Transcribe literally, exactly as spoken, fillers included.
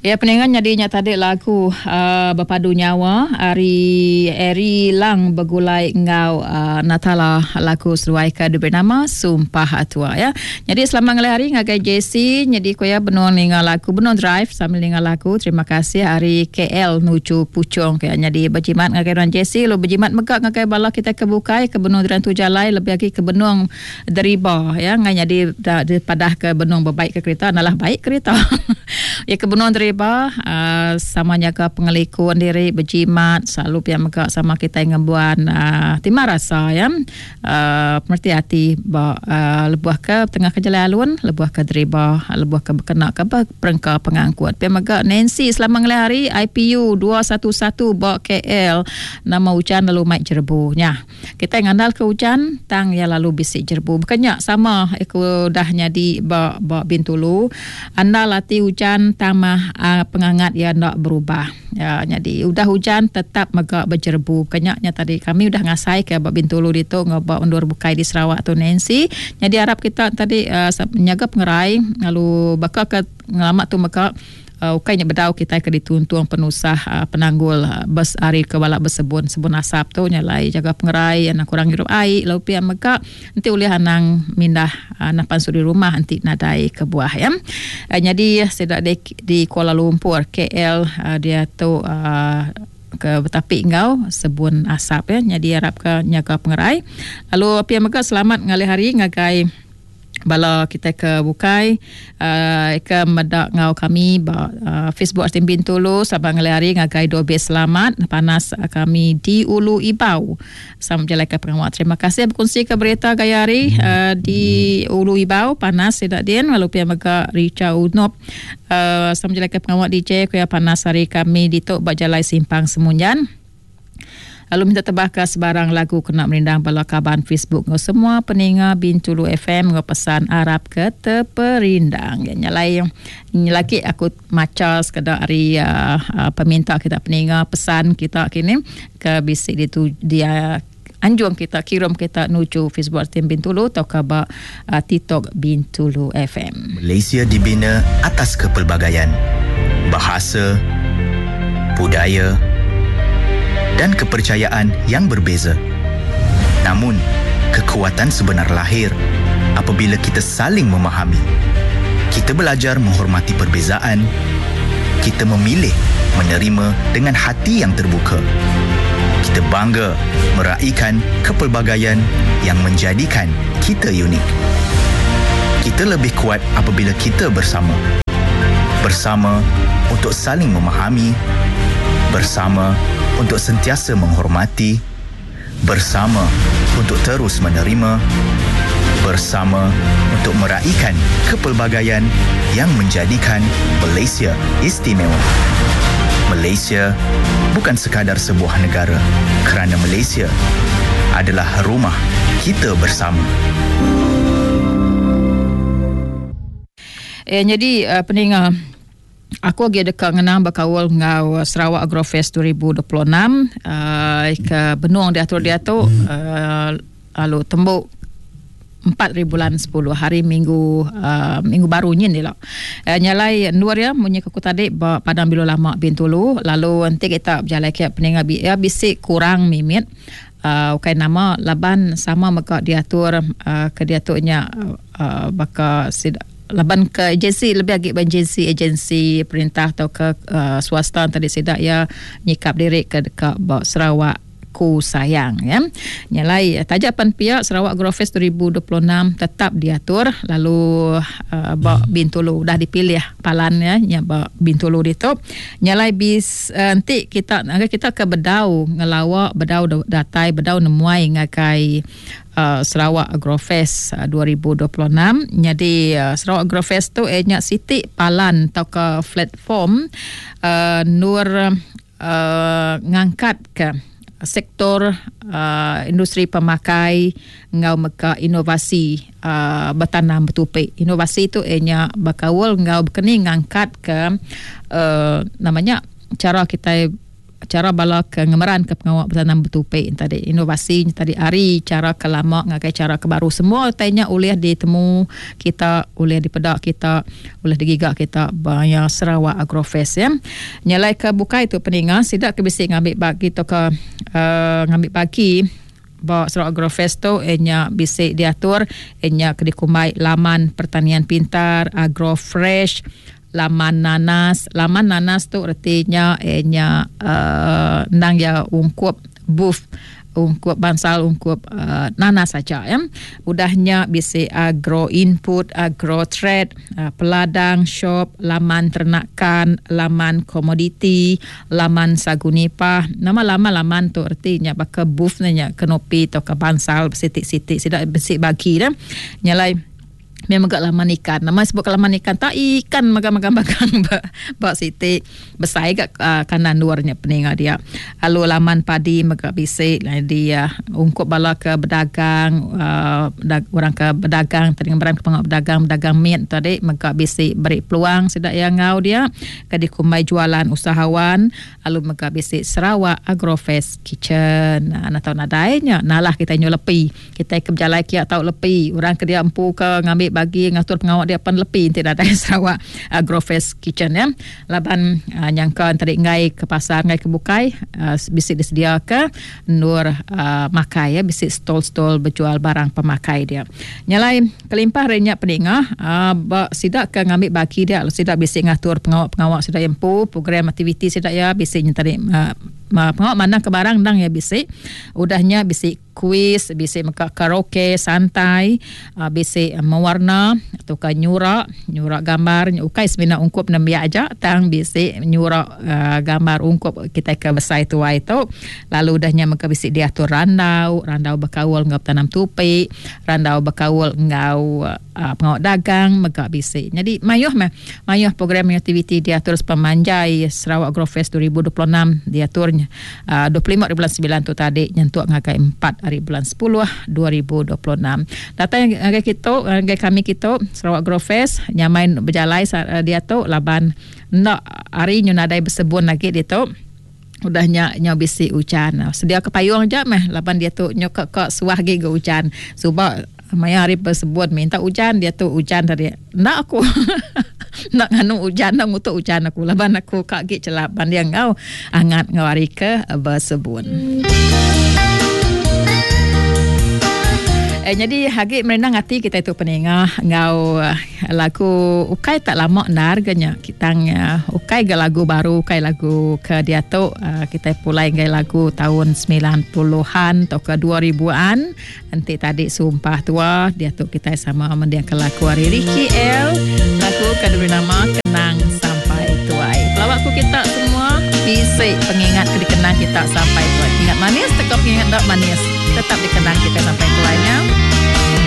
Ya peningan nyadinya tadi lagu uh, Berpadu Nyawa ari Eri Lang begulai ngau uh, Natala lagu seruai ke diberi nama Sumpah Atua ya. Jadi selamat ngalih hari ngagai J C jadi koya benung ninga lagu benung drive sambil ninga lagu. Terima kasih ari K L nuju Puchong ke jadi berjimat ngagai orang J C lu berjimat megak ngagai bala kita ke bukai ke benung dirantu jalai lebih lagi ke benung deriba ya ngai jadi da, padah ke benung berbaik ke kereta nalah baik kereta. Ya ke benung deriba uh, sama jaga pengelikun diri berjimat selalu pia megak sama kita ngembuan uh, timah rasa ya uh, pemerti hati ba uh, lebuh ke tengah ke jalan alun lebuh ke deriba lebuh ke berkena ke perengka pengangkut pia megak Nancy selama ngelih hari I P U dua satu satu ba K L nama hujan lalu mai jerbu nya kita ngandal ke hujan tang ya lalu bisik jerbu bukannya sama aku dah nyadi ba ba Bintulu andal hati hujan tamah uh, pengangat ya nak berubah ya jadi udah hujan tetap megak berjerbu kenyaknya tadi kami udah ngasai ke ba Bintulu ditu ngaba undur bukai di Sarawak tu Nancy jadi harap kita tadi uh, menjaga pengerai lalu bakal ke ngelamak tu mega Uh, ukainya bedau kita ke dituntung penusah uh, penanggul uh, bes hari ke balak bersebun sebun asap tu nyalai jaga pengerai anak kurang hirup air lalu pia mega nanti ulih anang mindah uh, napan suri rumah nanti nadai ke buah ya. Uh, jadi sedak di, di Kuala Lumpur K L uh, dia tu uh, ke betapi ngau sebun asap ya. Jadi harap ke jaga pengerai lalu pia mega selamat ngalih hari ngagai bala kita ke bukai uh, ke medak ngau kami ba uh, Facebook R T M Bintulu sabang ngalih hari ngagai dua belas selamat panas uh, kami di Ulu Ibau sama jalan ke pengawal. Terima kasih berkongsi ke berita gaya hari uh, di Ulu Ibau panas tidak din lalu pia mega Richa Unop uh, sama jalan ke pengawal D J kuya panas hari kami di tok ba jalai Simpang Semunjan. Lalu minta tebah ke sebarang lagu kena merindang bala kaban Facebook ngau semua peninga Bintulu F M ngau pesan Arab ke terperindang. Ya nyalai lagi aku maca sekadar hari uh, uh, peminta kita peninga pesan kita kini ke bisik di tu dia anjung kita kirim kita nuju Facebook R T M Bintulu atau ke ba, uh, TikTok Bintulu F M. Malaysia dibina atas kepelbagaian bahasa, budaya dan kepercayaan yang berbeza. Namun, kekuatan sebenar lahir apabila kita saling memahami. Kita belajar menghormati perbezaan. Kita memilih menerima dengan hati yang terbuka. Kita bangga meraikan kepelbagaian yang menjadikan kita unik. Kita lebih kuat apabila kita bersama. Bersama untuk saling memahami, bersama untuk sentiasa menghormati, bersama untuk terus menerima, bersama untuk meraikan kepelbagaian yang menjadikan Malaysia istimewa. Malaysia bukan sekadar sebuah negara, kerana Malaysia adalah rumah kita bersama. Eh, jadi uh, peninga aku lagi dekat ngenang berkawal ngau Sarawak Agrofest dua ribu dua puluh enam uh, ke benung diatur diatur uh, lalu tembuk empat ribu bulan sepuluh hari minggu uh, minggu baru nyin dia lah. Uh, nyalai luar ya munyi aku tadi ba Padang Bilo Lama Bintulu lalu nanti kita berjalan ke peninga bi ya bisik kurang mimit uh, ukai nama laban sama mega diatur uh, ke diaturnya uh, baka sid laban ke agensi lebih agi ban agensi agensi perintah atau ke uh, swasta tadi sidak ya nyikap diri ke dekat ba Sarawak ku sayang ya. Nyalai tajapan pihak Sarawak Agrofest dua ribu dua puluh enam tetap diatur lalu uh, ba Bintulu dah dipilih palan ya nya ba Bintulu ditu. Nyalai bis uh, nanti kita kita ke bedau ngelawak bedau datai bedau nemuai ngagai Uh, Sarawak Agrofest uh, dua ribu dua puluh enam. Jadi uh, Sarawak Agrofest tu eh nya siti palan atau ke platform uh, nur uh, ngangkat ke sektor uh, industri pemakai ngau meka inovasi uh, bertanam bertupik. Inovasi tu eh nya bakawal ngau bekeni ngangkat ke uh, namanya cara kita cara bala ke ngemeran ke pengawa betanam betupi tadi, inovasi tadi ari cara ke lama ngagai cara ke baru, semua tanya ulih ditemu kita, ulih dipedak kita, ulih digiga kita baya Sarawak Agrofest ya. Nyalai ke bukai tu peninga sidak ke bisi ngambil bagi tu ke uh, ngambil bagi ba Sarawak Agrofest tu enya bisi diatur enya ke dikumbai laman pertanian pintar Agrofresh, laman nanas. Laman nanas tu artinya enya uh, nang ya ungkup booth, ungkup bansal, ungkup uh, nanas saja ya. Udahnya bisi agro input, agro trade, uh, peladang shop, laman ternakan, laman komoditi, laman sagu nipah. Nama laman-laman tu artinya baka booth nya kenopi atau ke bansal sitik-sitik sidak bisi bagi dah. Nyalai memang gak laman ikan. Nama sebut laman ikan tak ikan magang-magang ba ba siti besai gak uh, kanan luarnya peninga dia. Lalu laman padi mega bisi dia ungkup bala ke berdagang uh, dag, orang ke berdagang tadi ngeberan ke pengak berdagang berdagang miat tadi mega bisi beri peluang sidak yang ngau dia ke dikumbai jualan usahawan. Lalu mega bisi Sarawak Agrofest Kitchen. Nah, nak tahu nadainya nalah kita nyu lepi. Kita ke berjalan kia tau lepi. Orang ke dia empu ke ngambil bagi ngatur pengawak dia pan lepi tidak ada Sarawak Agrofest Kitchen ya. Laban uh, nyangka tadi ngai ke pasar ngai ke bukai uh, bisi disedia ke nur uh, makai ya, bisi stall-stall berjual barang pemakai dia. Nyalai kelimpah renyak peningah uh, ba sidak ke ngambil bagi dia sidak bisi ngatur pengawak-pengawak sidak empu program aktiviti sidak ya bisi tadi uh, pengawak mana ke barang dang ya bisi. Udahnya bisi kuis, bisi meka karaoke santai, uh, bisi mewarna atau ke nyurak, nyurak gambar, ukai semina ungkup nembiak aja, tang bisi nyurak uh, gambar ungkup kita ke besai tuai tu. Lalu udahnya meka bisi diatur randau, randau berkaul ngau tanam tupi, randau berkaul ngau uh, pengawak dagang meka bisi. Jadi mayuh meh, mayuh program aktiviti diatur sepemanjai Sarawak Agrofest dua ribu dua puluh enam diaturnya uh, dua puluh lima bulan sembilan tu tadi nyentuk ngagai empat hari bulan sepuluh dua ribu dua puluh enam. Datang ngagai kita, ngagai kami kita Sarawak Agrofest nyamain berjalai dia tu laban nak hari nyu nadai bersebun lagi dia tu. Udahnya nyo bisi hujan. Sedia ke payung je meh laban dia tu nyo ke ke suah gi ge hujan. Suba maya hari bersebut minta hujan dia tu hujan tadi. Nak aku nak nganu hujan nak ngutuk hujan aku laban aku kak gi celap ban dia ngau angat ngau hari ke bersebun. Eh, jadi hagi merenang hati kita itu peningah ngau lagu ukai tak lama narganya kita uh, ukai ge lagu baru ukai lagu ke dia tu uh, kita pulai ngai lagu tahun sembilan puluhan atau ke dua ribuan nanti tadi sumpah tua dia tu kita sama mendiang ke lagu hari Ricky L lagu ke diberi nama Kenang Sampai Tuai. Pelawakku kita semua bisik pengingat ke dikenang kita sampai tuai. Ingat manis tetap ingat tak manis tetap dikenang kita sampai tuainya.